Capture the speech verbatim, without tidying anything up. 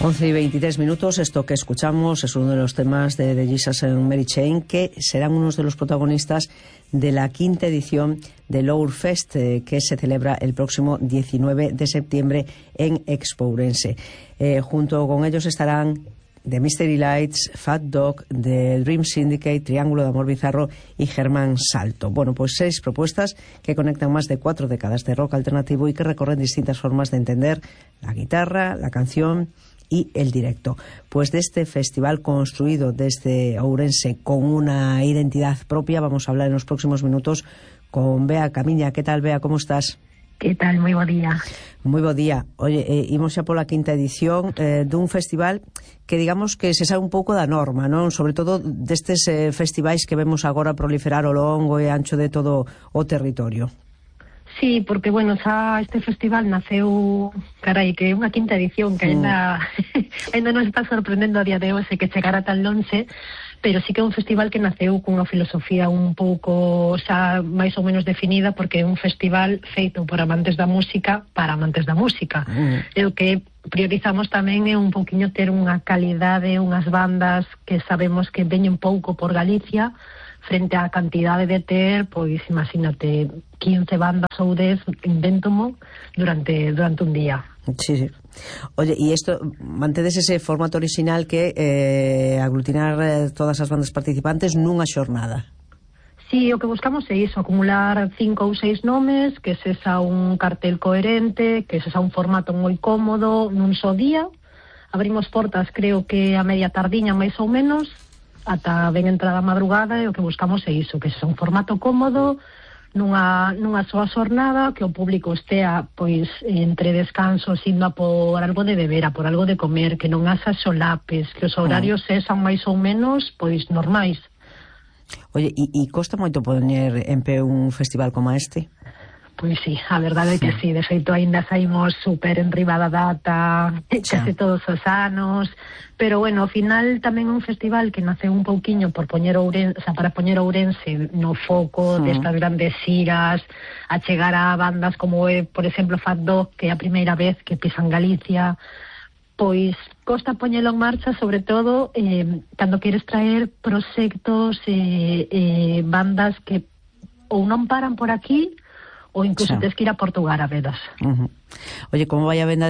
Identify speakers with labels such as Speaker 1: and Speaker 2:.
Speaker 1: once y veintitrés minutos. Esto que escuchamos es uno de los temas de The Jesus and Mary Chain, que serán unos de los protagonistas de la quinta edición del Ourfest, eh, que se celebra el próximo diecinueve de septiembre en Expo Ourense. Eh, junto con ellos estarán The Mystery Lights, Fat Dog, The Dream Syndicate, Triángulo de Amor Bizarro y Germán Salto. Bueno, pues seis propuestas que conectan más de cuatro décadas de rock alternativo y que recorren distintas formas de entender la guitarra, la canción y el directo. Pues de este festival construido desde Ourense con una identidad propia vamos a hablar en los próximos minutos con Bea Camiña. ¿Qué tal, Bea? ¿Cómo estás?
Speaker 2: Que tal? Moi bo día.
Speaker 1: Moi bo día. Oye, eh, imos xa pola quinta edición eh, dun festival que digamos que se sabe un pouco da norma, non? Sobre todo destes eh, festivais que vemos agora proliferar ao longo e ancho de todo o territorio.
Speaker 2: Sí, porque, bueno, xa este festival naceu, carai, que é unha quinta edición que ainda, mm. ainda nos está sorprendendo a día de hoxe que chegara tan lonxe, pero sí que é un festival que naceu cunha filosofía un pouco xa máis ou menos definida, porque é un festival feito por amantes da música para amantes da música. Mm. E o que priorizamos tamén é un pouquiño ter unha calidade, unhas bandas que sabemos que veñen pouco por Galicia, frente á cantidade de ter, pois imagínate, quince bandas ou dez, invéntomo, durante, durante un día.
Speaker 1: Sí, sí. Oye, e isto, mantedes ese formato original que eh, aglutinar eh, todas as bandas participantes nunha xornada?
Speaker 2: Sí, o que buscamos é iso, acumular cinco ou seis nomes, que se xa un cartel coherente, que se xa un formato moi cómodo, nun só día. Abrimos portas, creo que a media tardiña, máis ou menos, ata ben entrada a madrugada, e o que buscamos é iso, que sexa un formato cómodo, nunha, nunha soa xornada, que o público estea pois entre descansos indo a por algo de beber, a por algo de comer, que non haxa solapes, que os horarios mm. sexan máis ou menos pois normais.
Speaker 1: Oye, e, e costa moito poñer en pé un festival como este?
Speaker 2: Pois sí, a verdade é que sí, de feito aínda saímos super en riba da data case todos os anos, pero bueno, ao final tamén un festival que naceu un pouquiño por poñer Ourense, o sea, para poñer Ourense no foco uh-huh. destas grandes xiras, a chegar a bandas como é, por exemplo, Fat Dog, que é a primeira vez que pisan Galicia. Pois costa poñelo en marcha, sobre todo eh, cando queres traer proxectos e eh, eh, bandas que ou non paran por aquí ou incluso sí. Tes que ir a Portugal a veras.
Speaker 1: Uh-huh. Oye, como vai a venda